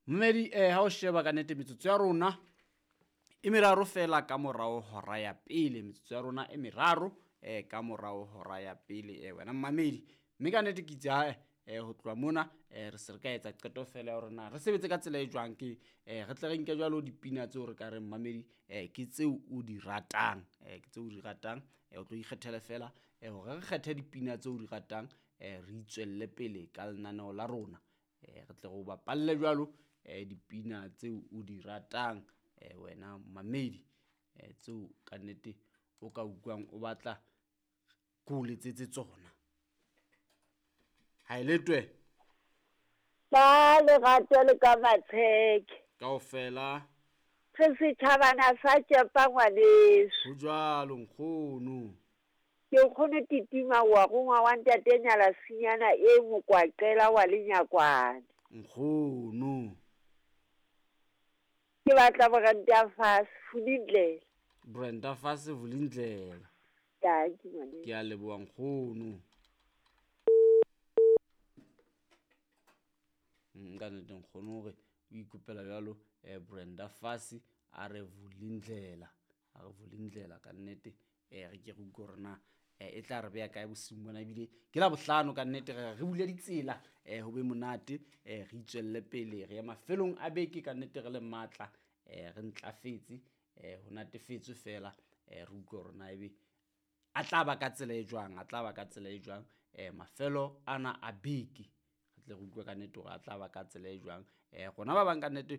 Mmedi ha o sheba ka nnete metsotso ya rona e meraro fela ka morao hora ya pele, metsotso ya rona e meraro ka morao hora ya pele, wena mmamedi. Mme ka nnete ke itse hae ho tloha mona re se re ka etsa qeto fela ya hore na re sebetse ka tsela e jwang, ke re tle re nke jwalo dipina tseo re ka reng mmamedi ke tseo o di ratang, ke tseo o di ratang, o tlo ikgethele fela hore re kgethe dipina tseo o di ratang, re itswelle pele ka lenaneo la rona, re tle re o bapalle jwalo dipina tseo o di ratang, wena mmamedi, tseo ka nnete o ka utlwang o batla ke o letsetse tsona. Ha e letwe. Ba lerato le ka matsheke. Kaofela. Re setjhabana sa tšepa ngwaneso. Ho jwalo nkgono. Ke nkgono Titima wa rongwa wa ntate Nyala Sinyana e mokwaqela wa lenyakwane. Nkgono. Ke batla Brenda Fassie Vulindlela. Brenda Fassie Vulindlela. Dankie ngwaneso. Ke a leboha nkgono. Nka nnete nkgono hore o ikopela jwalo Brenda Fassie a re Vulindlela, a re Vulindlela ka nnete. Re ke re utlwe hore na e tla re beha kae bosiung bona, ebile ke la bohlano ka nnete re re bule ditsela, ho be monate, re itswelle pele re ye mafelong a beke ka nnete re le matla, re ntlafetse, ho natefetswe fela, re utlwe hore na ebe a tla ba ka tsela e jwang, a tla ba ka tsela e jwang, mafelo ana a beke. Re tle re utlwe ka nnete hore a tla ba ka tsela e jwang. Rona ba bang ka nnete,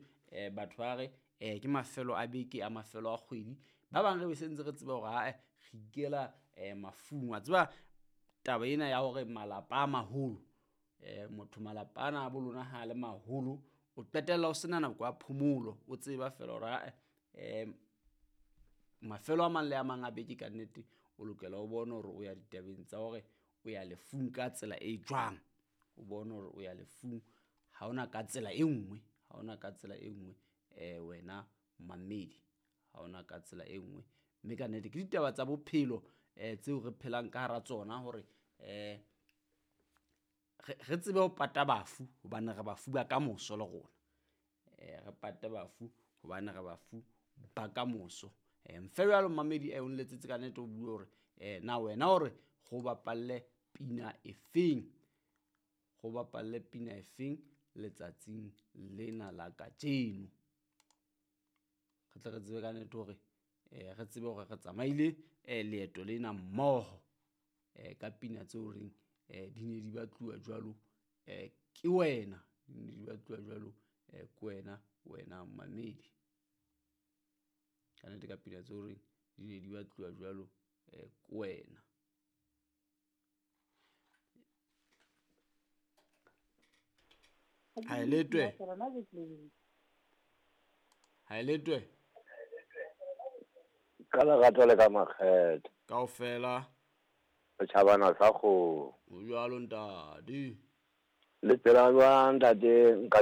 batho ba re ke mafelo a beke a mafelo a kgwedi, ba bang re be se ntse re tseba hore hae re ikela mafung. Wa tseba taba ena ya hore malapa a maholo, motho malapa ana a bo lona ha le maholo, o qetella o sena nako ya phomolo, o tseba fela hore hae mafelo a mang le a mang a beke ka nnete o lokela o bone hore o ya ditabeng tsa hore o ya lefung ka tsela e jwang, o bone hore o ya lefung ha ona ka tsela e nngwe, ha ona ka tsela e nngwe, wena mmamedi, ha ona ka tsela e nngwe. Mme ka nnete ke ditaba tsa bophelo tseo re phelang ka hara tsona hore re tsebe ho pata bafu hobane re bafu ba kamoso le rona, re pate bafu hobane re bafu ba kamoso. Mfe jwalo mmamedi o nletsetse ka nnete o bue hore na wena hore go bapalle pina efeng, go bapalle pina efeng letsatsing lena la kajeno. Re tle re tsebe ka nnete hore re tsebe hore re tsamaile leeto lena mmoho, ka pina tseo reng di ne di batluwa jwalo ke wena, di ne di batluwa jwalo ke wena, wena mmamedi. Ka nnete ka pina tseo reng di ne di batluwa jwalo ke wena. Ha e letwe. Ha e letwe. Ka lerato le ka makgethe. Kaofela. Setjhabana sa kgomo. Ho jwalo ntate. Le phela jwang ntate? Nka